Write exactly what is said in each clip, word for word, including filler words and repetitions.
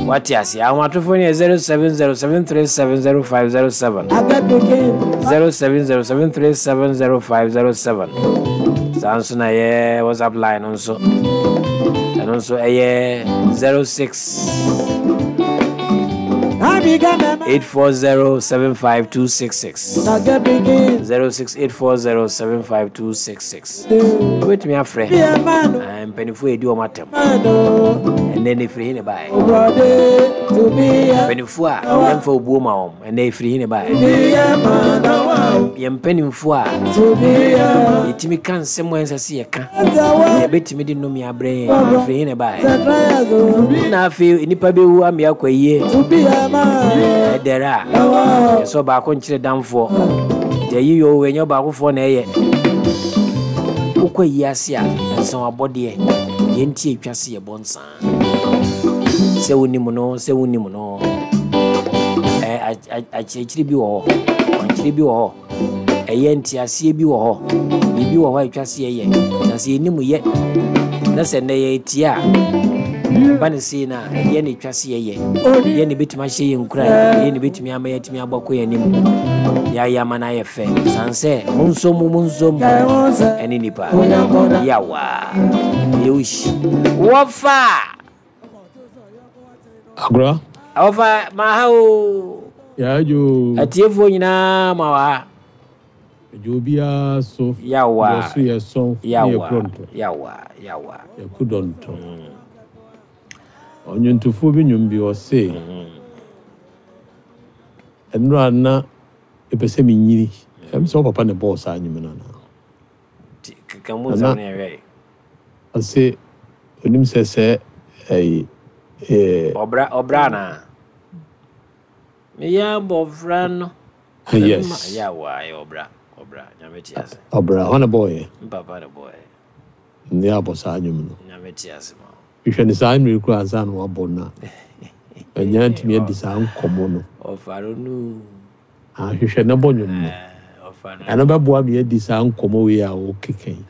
Wate ase? Ahomatorofoɔ no yɛ zero seven zero seven three seven zero five zero seven, zero seven zero seven three seven zero five zero seven. Saa nso na yɛ WhatsApp line no nso, ɛno nso ɛyɛ zero six eight four zero seven five two six six, zero six eight four zero seven five two six six. Wobɛtumi afrɛ mpanimfoɔ yɛdi wɔn atɛm ɛnɛ ne firi he ne baeɛ, mpanimfoɔ a yɛmfa obuo ma wɔn ɛnɛ ɛfiri he ne baeɛ, yɛn mpanimfoɔ a yɛtumi ka nsɛm a ɛnsɛ sɛ yɛka, yɛbɛtumi de nnome abrɛ yɛn, ɛfiri he ne baeɛ? Na afei nnipa bɛwu ame akɔ yie ɛdɛrɛ a yɛsɛ ɔbaako nkyerɛ damfoɔ nti ayi yɛ ɔwɔ ɛnyɛ ɔbaakofoɔ na ɛyɛ. Wokɔ yi ase a nsan abɔdeɛ deɛ nti atwa se yɛbɔ nsaa sɛ wonim no, sɛ wonim no, akyerɛkyerɛ bi wɔ hɔ, kwankyerɛ bi wɔ hɔ, ɛyɛ nteaseɛ bi wɔ hɔ, biribi wɔ hɔ a atwa se yɛyɛ na sɛ yɛnim yɛ na sɛ nnɛ yɛtie a ba ne sei no a, ɛdeɛ na ɛtwa se yɛyɛ, ɛdeɛ na ɛbɛtumi ahyɛ yɛn nkuran, ɛdeɛ na ɛbɛtumi ama yɛatumi abɔ kɔ yɛn anim, yɛayɛ ama no ayɛ fɛ sane sɛ monsom mu monsom ɛne nipa yawa yɛwohyi wɔfa. Agora. Wɔfa maha o. Yaajo. Atiefoɔ nyinaa ma wɔ ha. Adwo biara so. Yawa. Yɛso yɛ sɔn. Yawa. Yɛ yawa yawa. Yɛko dɔntɔ. Ɔnwontofoɔ bi nnwom bi ɔse, ɛnora na ɛpɛ sɛ menyini. Ɛm sɛ wo papa ne bɔɔ saa nnwom no anaa? Keka mu nsɛm no yɛhwɛ. Ɔse onim sɛ sɛ ɛyi ɛɛ ɔbra ɔbra anaa? Meyɛ abɔfra no. Yes. Yawa, ɛyɛ ɔbra ɔbra. Nyame te ase. Ɔbra hɔ na bɔɔyɛ. Mpapa ne bɔɔyɛ. Ne abɔ saa nnwom no. Nyame te ase ma. Hwehwɛ ne saa mmerɛ koraa ansa na wabɔ no a ɛnyɛ ntumi adi saa nkɔmmɔ no. Ɔfa no nu. Ahwehwɛ ne bɔ nnwom no. Ɔfa no. Ɛno bɛboa me adi saa nkɔmmɔ wei a wokeka yi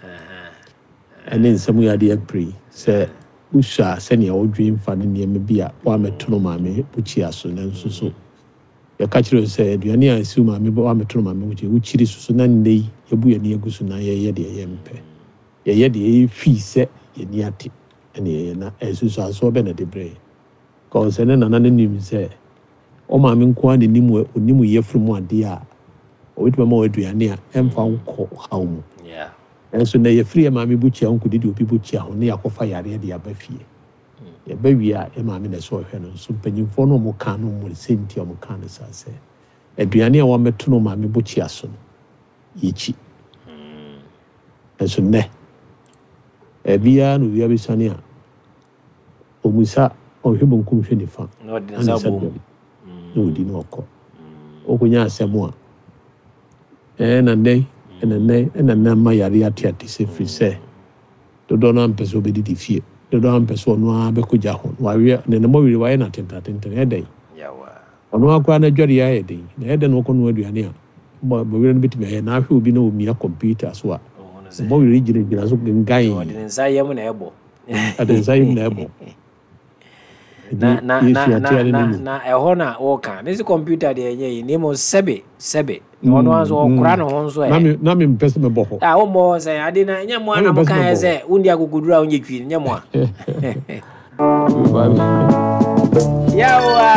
ɛne nsɛm yi ade apere sɛ wosua sɛnea wodwen fa ne nneɛma bi a woamɛto no maame bukyia so, nanso so yɛka kyerɛ wo sɛ aduane a ɛsi wo maame woamɛto no maame bukyia wokyiri so so na nnɛ yi yɛbu yɛn ani agu so na yɛyɛ deɛ yɛmpɛ, yɛyɛ deɛ yɛfii sɛ yɛni ate ɛne yɛyɛ na ɛnsusuansoɔ bɛ na de brɛ yɛ kɔn sɛ ne nana no nim sɛ ɔmaame nko ara n'anim onim yɛfiri mu adeɛ a ɔbɛtumi ama wɔ aduane a ɛmfa nkɔ haw mu. Yeah. Nanso na yɛfiri yɛ maame bukyia ho nkɔdidi obi bukyia ho ne yɛakɔfa yareɛ de aba fie. Yɛba wie a yɛ maame na ɛsɛ ɔhwɛ no nso mpanyimfoɔ no a ɔmo ka no ɔmo sɛ nti a ɔmo ka no saa sɛ aduane a wɔamɛto no maame bukyia so no yɛkyi. Nanso nnɛ ɛbiara na owia bɛsuane a ɔmusa ɔhwɛ bonkum hwɛ nifa Na ɔde ne na nsa ne nsa bom. dɔm na ɔdi na ɔkɔ ɔkɔnya asɛm a ɛɛ na nnɛ ɛna nnɛ ɛna nnɛ ama yare ate ate sɛ firi sɛ dodoɔ no ampɛ sɛ ɔbɛdidi fie, dodoɔ no ampɛ sɛ ɔno ara bɛkɔ gya ho wawe ne ne mmɔwere wayɛ no atentatenten ɛdɛn. Yawa. Ɔno ara koraa n'adwareɛ ayɛ den na ɛdɛn na ɔkɔ noa aduane a bɔ bɔwerɛ no bɛtumi ayɛ na ahwɛ obi na ɔmia kɔmputa so a Ɔhu no sɛ bɔwerɛ gyinagyina so gengan. Ɔde ne nsa yam na ɛbɔ. Ɔde ne nsa yam na ɛbɔ. Na na na yɛsua na tia ne na no na ɛhɔ na wɔka ne sɛ kɔmputa deɛ ɛnyɛ yi na mmom sɛbe sɛbe na ɔno ara nso ɔkora ne ho nso na ɛ me na me mpɛ sɛ mebɔ hɔ. A wommɔ hɔ sɛ ade na ɛnyɛ mmoa Na na mepɛ sɛ mokaeɛ mebɔ hɔ. sɛ wondi akokoduru a wonyɛ twi no nyɛ mmoa. Yawa.